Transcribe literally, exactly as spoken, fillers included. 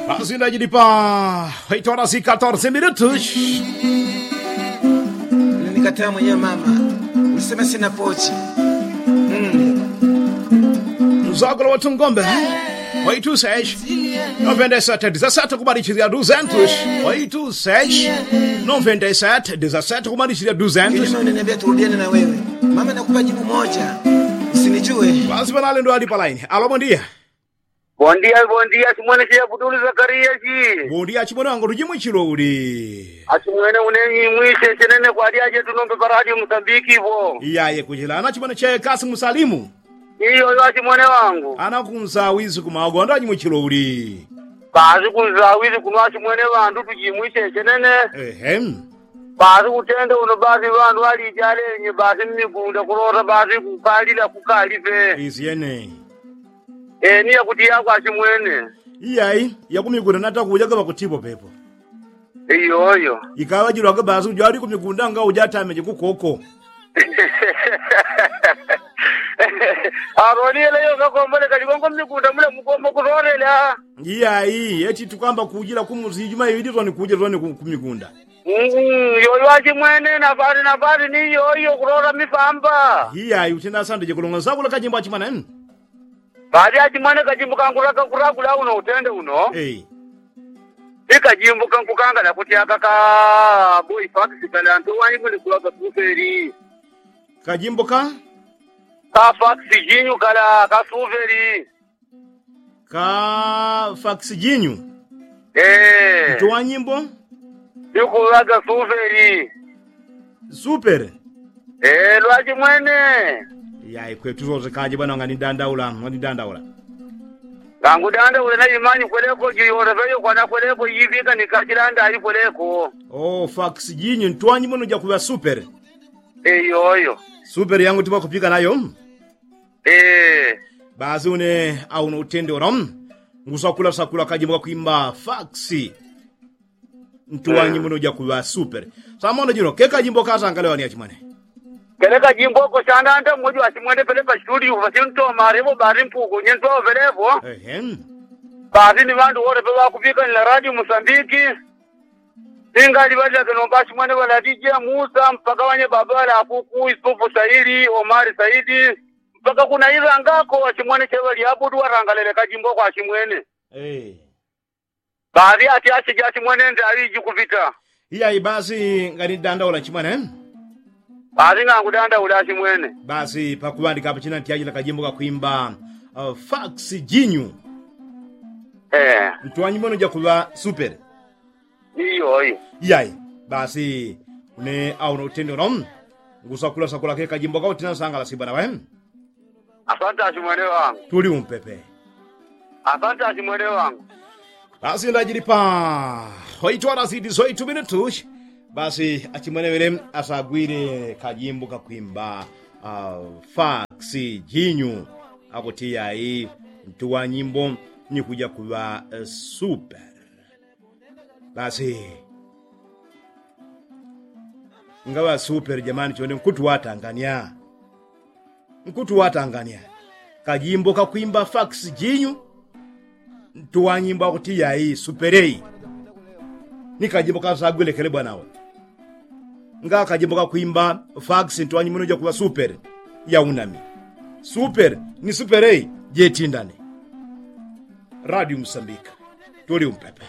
Asindajilipa. Oito horas y catorce minutos. Nikataya mwenye mama, ulisema sina pochi. Mzagula watu ngombe. Oito seis, noventa y sete dezasete kumalichizia duzentos. Oito seis, noventa y sete dezasete kumalichizia duzentos. Mama nakupa jibu moja. Usinijue. Basi banalendo alipa laini. Alo, bondia. Bondia bondia simwene chiyabudulu zakariya chi. Bondia chimwene wangu tujimwichilo uli. Asimwene unenyi mwishe chenene kwalyaje tunombe paradi musambiki vo. Iyaye kuchilana chimwene chekasi musalimu. Iyoyo asimwene wangu. Anakunsawizi kumagonda jimwichilo uli. Basi kunsawizi kuno asimwene wandu tujimwishe chenene. Ehem. Basi kutende uno basi wandu alijalenye basi mmigunda kulota basi kukalila kukalipe. Isyene. Eni yakuti yakwa asimwene. Iyayi, yakumigunda natakujaga pakutipo pepo. Iyoyo. Ikawajilwaga basi ujali kumigunda nga ujatameje kukoko. Aroni eleyo kakombole kalikongo mmigunda mule mukomo kutolela. Iyayi eti tukamba kujila kumusi ijuma iwili toni kujila toni kumigunda. Yoyo achimwene nafati nafati ni yoyo kulota mifamba. Iyayi utina sandije kulonga nsakula kajimbo achimwene. Badi achimwene kajimbo kangulaka kulakula uno utende uno. Ikajimbo kankukanga nakuti aka ka boyi fakisi kali antu wanyi muli kulaka kufeli. Kajimbo ka ka fakisi jinyu kala kasufeli. Ka fakisi jinyu. Ee. Ntu wa nyimbo. Ikulaga sufeli. Supele. Ee lwaji mwene. Yai kwetu sose kaje bwana ngani dandaula ngani dandaula. Ngangu dandaula na imanyi kweleko jiyoreveyo kwana kweleko yivika ni kachilanda ayi kweleko. Oo fakisi jinyu ntu wa nyimbo nuja kuŵa supele. Iyoyo. Supele yangu timakupika nayo. Basi une auno utende uno ngusakula sakula kajimbo kakwimba faksi. Ntu wanyi muno jakuŵa supele. Samono jino ke kajimbo kasangale wani achimwene. Kele kajimbo ko sandanda mmoji wachimwene pele pa situdio pasintomare vo bari mpuku nyentwa opelepo. Basi ni ŵandu wole peŵakupika ni la radio musambiki. Singali ŵalilake nomba achimwene ŵaladije musa mpaka ŵanye babala akuku isufu saili omari saidi. Mpaka kunailangako achimwene cheŵalyabudu ŵalangalele kajimbo kwa achimwene. Baadhi ati achija achimwene ndaŵi jikupita. Iyayi basi ngani dandaula achimwene. Basi ngangu dandaula achimwene. Basi pakuŵandika apa china ntyajila kajimbo kakwimba. Faksi jinyu. Ntu wanyimwene ujakuŵa supele. Iyoyo. Iyayi basi une auno utende uno ngusakula sakula ke kajimbo kautina sangala sibwana ŵe. Asante achimwene wangu. Tuli umpepe. Asante achimwene wangu. Basi ndajilipa hoitwala siti soitumine tushi. Basi achimwene ŵele asagwile kajimbo kakwimba. Faksi jinyu akuti iyayi ntu wanyimbo nikuja kuŵa supele. Basi ngaŵa supele jamani chone nkutu watangania. Nkutu watangania kajimbo kakwimba faksi jinyu. Ntu wanyimbo akuti iyayi supeleyi. Ni kajimbo kasagwile kele bwanawe. Nga kajimbo kakwimba faksi ntu wanyimbo nuja kuŵa supele. Yaunami supele ni supeleyi. Jetindane. Radio musambika tuli umpepe.